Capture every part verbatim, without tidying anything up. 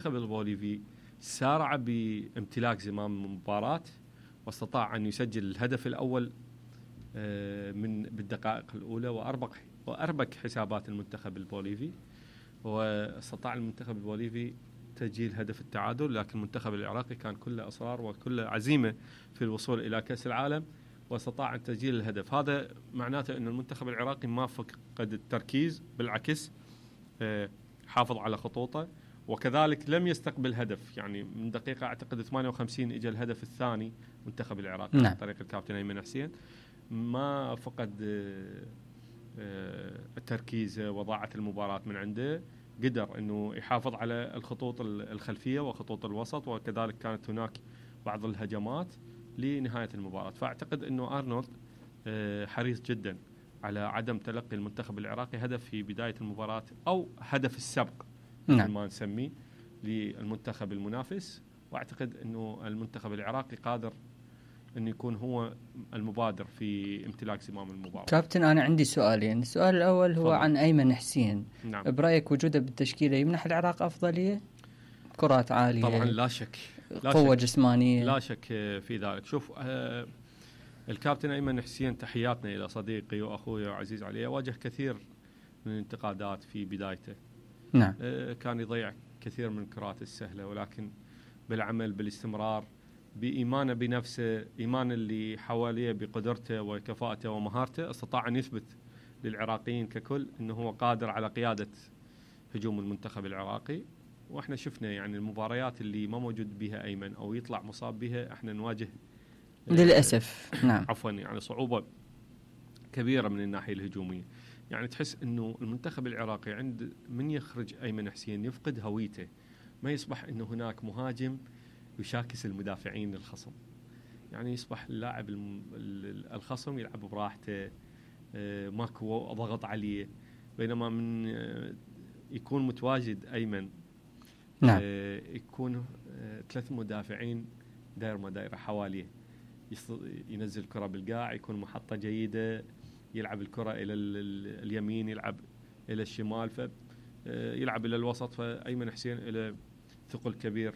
المنتخب البوليفي سارع بامتلاك زمام المباراة واستطاع أن يسجل الهدف الأول من بالدقائق الأولى وأربك وأربك حسابات المنتخب البوليفي، واستطاع المنتخب البوليفي تسجيل هدف التعادل. لكن المنتخب العراقي كان كله إصرار وكله عزيمة في الوصول إلى كأس العالم واستطاع أن تسجيل الهدف. هذا معناته أن المنتخب العراقي ما فقد التركيز، بالعكس حافظ على خطوطه، وكذلك لم يستقبل هدف. يعني من دقيقة أعتقد ثمانية وخمسين إجا الهدف الثاني منتخب العراق نعم. عن طريق الكابتن أيمن حسين، ما فقد التركيز وضاعت المباراة من عنده، قدر أنه يحافظ على الخطوط الخلفية وخطوط الوسط، وكذلك كانت هناك بعض الهجمات لنهاية المباراة. فأعتقد أنه أرنولد حريص جدا على عدم تلقي المنتخب العراقي هدف في بداية المباراة أو هدف السبق نعم. ما نسميه للمنتخب المنافس. واعتقد انه المنتخب العراقي قادر أن يكون هو المبادر في امتلاك زمام المباراة. كابتن أنا عندي سؤالين، السؤال الأول هو فضل. عن أيمن حسين. نعم. برأيك وجوده بالتشكيلة يمنح العراق أفضلية؟ كرات عالية طبعا لا شك، لا قوة شك. جسمانية، لا شك في ذلك. شوف آه الكابتن أيمن حسين، تحياتنا إلى صديقي وأخوي وعزيز علي، واجه كثير من الانتقادات في بدايته. نعم. آه كان يضيع كثير من الكرات السهلة، ولكن بالعمل بالاستمرار بإيمانه بنفسه، إيمان اللي حواليه بقدرته وكفاءته ومهارته، استطاع أن يثبت للعراقيين ككل أنه هو قادر على قيادة هجوم المنتخب العراقي. وإحنا شفنا يعني المباريات اللي ما موجود بها أيمن أو يطلع مصاب بها إحنا نواجه للأسف نعم عفوا يعني صعوبة كبيرة من الناحية الهجومية. يعني تحس أنه المنتخب العراقي عند من يخرج أيمن حسين يفقد هويته، ما يصبح أنه هناك مهاجم يشاكس المدافعين الخصم، يعني يصبح اللاعب الخصم يلعب براحته، ماكو ضغط عليه، بينما من يكون متواجد أيمن نعم. يكون ثلاث مدافعين داير ما دايرة حواليه، ينزل كرة بالقاع، يكون محطة جيدة، يلعب الكرة إلى اليمين، يلعب إلى الشمال، فيلعب إلى الوسط. فأيمن حسين إلى ثقل كبير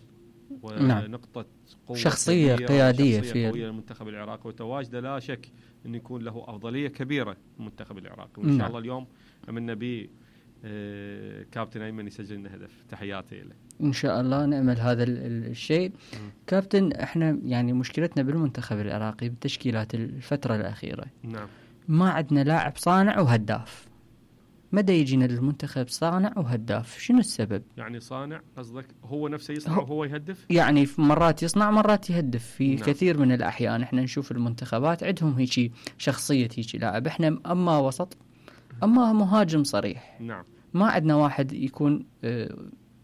ونقطة قوة، شخصية قيادية في المنتخب العراقي، وتواجده لا شك أن يكون له أفضلية كبيرة المنتخب العراقي. وإن شاء الله اليوم أملنا به كابتن أيمن يسجل لنا هدف. تحياتي له إن شاء الله، نأمل هذا الشيء. كابتن احنا يعني مشكلتنا بالمنتخب العراقي بالتشكيلات الفترة الأخيرة، نعم، ما عندنا لاعب صانع وهداف. مدى يجينا للمنتخب صانع وهداف؟ شنو السبب؟ يعني صانع قصدك هو نفسه يصنع وهو يهدف؟ يعني في مرات يصنع مرات يهدف في نعم. كثير من الأحيان احنا نشوف المنتخبات عندهم هيك شخصية هيك لاعب. احنا أما وسط أما مهاجم صريح. نعم. ما عندنا واحد يكون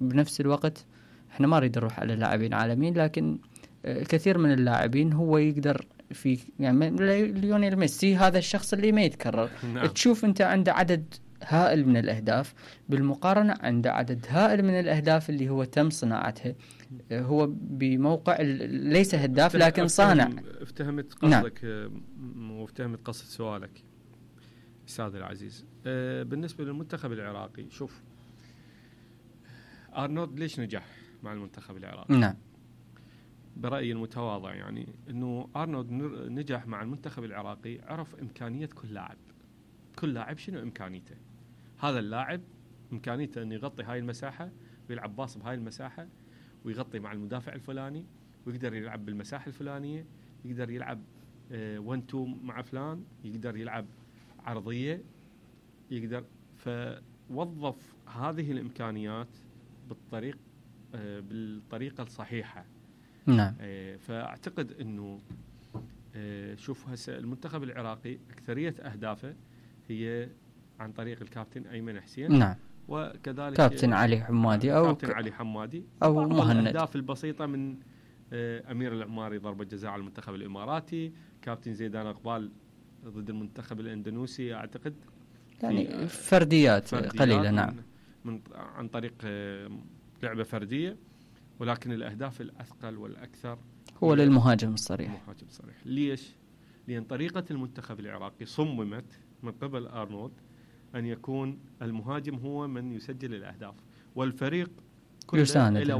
بنفس الوقت. احنا ما نريد نروح على لاعبين عالميين، لكن كثير من اللاعبين هو يقدر في يعني ليونيل ميسي هذا الشخص اللي ما يتكرر. نعم. تشوف انت عنده عدد هائل من الأهداف، بالمقارنة عنده عدد هائل من الأهداف اللي هو تم صناعتها. هو بموقع ليس هداف لكن صانع. افتهمت قصدك. نعم. وافتهمت قصد سؤالك أستاذ العزيز. أه بالنسبة للمنتخب العراقي، شوف أرنولد ليش نجح مع المنتخب العراقي؟ نعم. برأيي المتواضع يعني أنه أرنولد نجح مع المنتخب العراقي، عرف إمكانية كل لاعب، كل لاعب شنو إمكانيته. هذا اللاعب إمكانيته أن يغطي هاي المساحة ويلعب باص بهاي المساحة، ويغطي مع المدافع الفلاني، ويقدر يلعب بالمساحة الفلانية، يقدر يلعب ون تو مع فلان، يقدر يلعب عرضية، يقدر. فوظف هذه الإمكانيات بالطريق بالطريقة الصحيحة. نعم. فأعتقد أنه شوف هسه المنتخب العراقي أكثرية أهدافه هي عن طريق الكابتن أيمن حسين. نعم. وكذلك كابتن علي حمادي أو كابتن علي حمادي أو مهند. الأهداف البسيطة من أمير العماري ضربة جزاء على المنتخب الإماراتي، كابتن زيدان أقبال ضد المنتخب الإندونيسي أعتقد، يعني فرديات, فرديات قليلة. نعم. من, من عن طريق لعبة فردية، ولكن الأهداف الأثقل والأكثر هو للمهاجم الصريح. المهاجم الصريح. ليش؟ لأن طريقة المنتخب العراقي صممت من قبل أرنولد أن يكون المهاجم هو من يسجل الأهداف، والفريق كله إلى